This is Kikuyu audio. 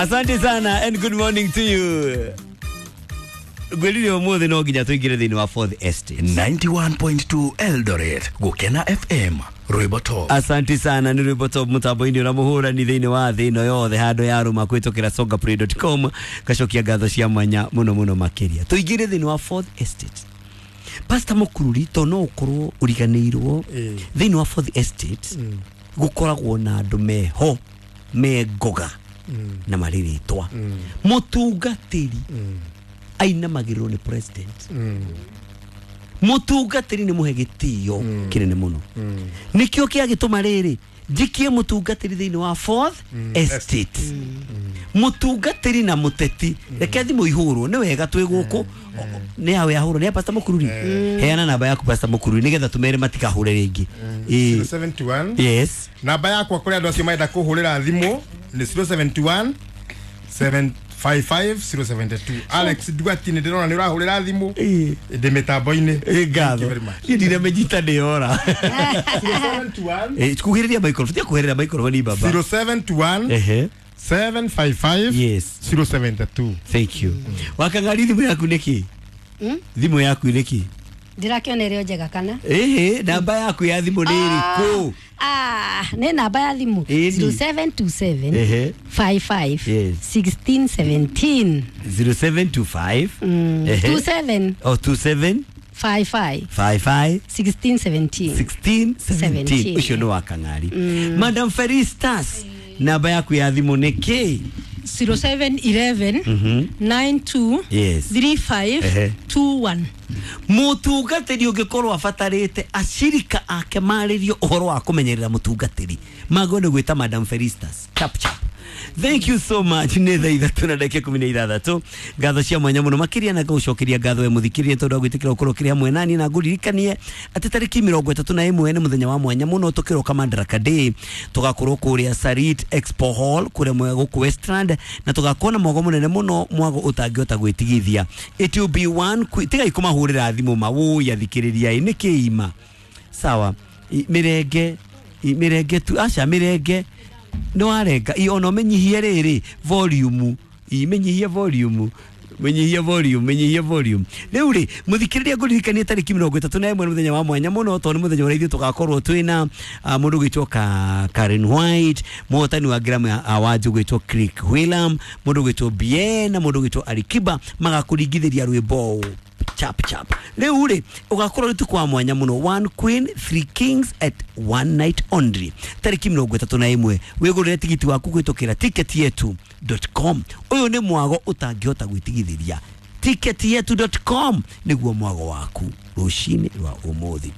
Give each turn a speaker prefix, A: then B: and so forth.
A: Asante sana and good morning to you. Ngwĩrire ũmũthĩ no nginya tũingĩre thĩinĩ wa Fourth Estate.
B: 91.2 Eldoret, Gukena FM, Rwimbo Top.
A: Asante sana nĩ rwĩmbo top mũtambo-inĩ ũrĩa mũhũrani thĩinĩ wa thĩ ĩno yothe handũ ya rũma kũhĩtũkĩra songaplay.com. Ngacokia ngatho cia mwanya mũno mũno makĩria. Tũingĩre thĩinĩ wa Fourth Estate. Pastor Mũkururi, to no ũkorwo ũriganĩirwo, thĩinĩ wa Fourth Estate gũkoragwo na andũ meho me ngoga na marĩ rĩtwa. Mũtungatĩri ainamagĩrĩrwo nĩ president. Mũtungatĩri nĩ mũhe gĩtĩo kĩnene mũno. Nĩkĩo kĩagĩtũma rĩrĩ njikie mũtungatĩri thĩinĩ wa Fourth Estate. Mũtungatĩri na mũteti, reke thimũ ihũrwo nĩ wega twĩ gũkũ. Nĩ yawe yahũrwo nĩ ya Pastor Mũkururi. Heana namba yaku, Pastor Mũkururi, nĩgetha tũmere matikahũre rĩngĩ. Ĩĩ.
C: 071.
A: Yes.
C: Namba yakwa kũrĩ andũ acio marenda kũhũrĩra thimũ nĩ 071 755 072. Alex Duati, nĩ ndĩrona nĩ ũrahũrĩra thimũ.
A: Ĩĩ.
C: Ndĩ mĩtambo-inĩ.
A: Ĩ
C: Thank you
A: ngatho.
C: very much.
A: Niĩ ndiramĩnyita nĩ yora.
C: 071.
A: Ĩ, kuhĩrĩria microphone, tia kuhĩrĩria microphone baba.
C: 071.
A: Ehe.
C: 755.
A: Yes.
C: 072.
A: Thank you. Wakangari, thimũ yaku nĩkĩ? Thimũ yaku nĩkĩ?
D: Ndirakĩona ĩrĩ o njega kana?
A: Ĩhĩ, namba yaku ya thimũ nĩ ĩrĩkũ?
D: Ah, nĩ namba ya thimũ?
A: Ĩni.
D: 0727
A: Ehe.
D: 55
A: Yes.
D: 1617.
A: 0725. Ehe.
D: 27.
A: Oh, 27.
D: 55.
A: 55.
D: 1617.
A: 16 17.
D: 17.
A: Ũcio nĩ wa Kang'ari. Madam Felistas, namba yaku ya thimũ nĩ kĩ?
E: 0711 92
A: Yes.
E: 35
A: Ehe.
E: 21.
A: Mũtungatĩri ũngĩkorwo abatarĩte acirika ake marĩrio ũhoro wa kũmenyerera mũtungatĩri, magwo nĩ gwĩta Madam Felistas chap chap. Thank you so much. Nĩ thaa 6:16. Ngatho cia mwanya mũno makĩria na ngagũcokeria ngatho we mũthikĩrĩria tondũ wa gwĩtĩkĩra gũkorwo kĩrĩ hamwe nani, na ngũririkanie atĩ tarĩki 31 nĩ mũthenya wa mwanya mũno tũkĩroka Madaraka Day. Tũgakorwo kũrĩa Sarit Expo Hall kũrĩa mwega gũkũ Westland, na tũgakorwo na mwago mũnene mũno, mwago ũtangĩhota gwĩtigithia. It will be one tigai kũmahũrĩra thimũ mawũi athikĩrĩria ĩ nĩ kĩima sawa. Mĩrenge mĩrenge tu, aca mĩrenge nĩ warenga. Ona ũmenyihie rĩrĩ volume, menyihie volume, menyihie volume, menyihie volume. Rĩu rĩ, mũthikĩrĩria, ngũririkanie tarĩki 31 nĩ mũthenya wa mwanya mũno, tondũ nĩ mũthenya ũrĩa ithuĩ tũgakorwo twĩna mũndũ ũgwĩtwo Karen White, mũhotani wa Grammy Awards ũgwĩtwo Click Wheelam, mũndũ ũgwĩtwo Bien na mũndũ ũgwĩtwo Alikiba magakũringithĩria rwĩmbo chap chap. Rĩu rĩ, ũgakorwo nĩ tukũ wa mwanya mũno, one queen, three kings at one night only, tarĩki 31. Wĩgũrĩre tigiti waku kũhĩtũkĩra ticketyetu.com. Ũyũ nĩ mwago ũtangĩhota gwĩtigithĩria. Ticketyetu.com nĩguo mwago waku rũcinĩ rwa ũmũthĩ.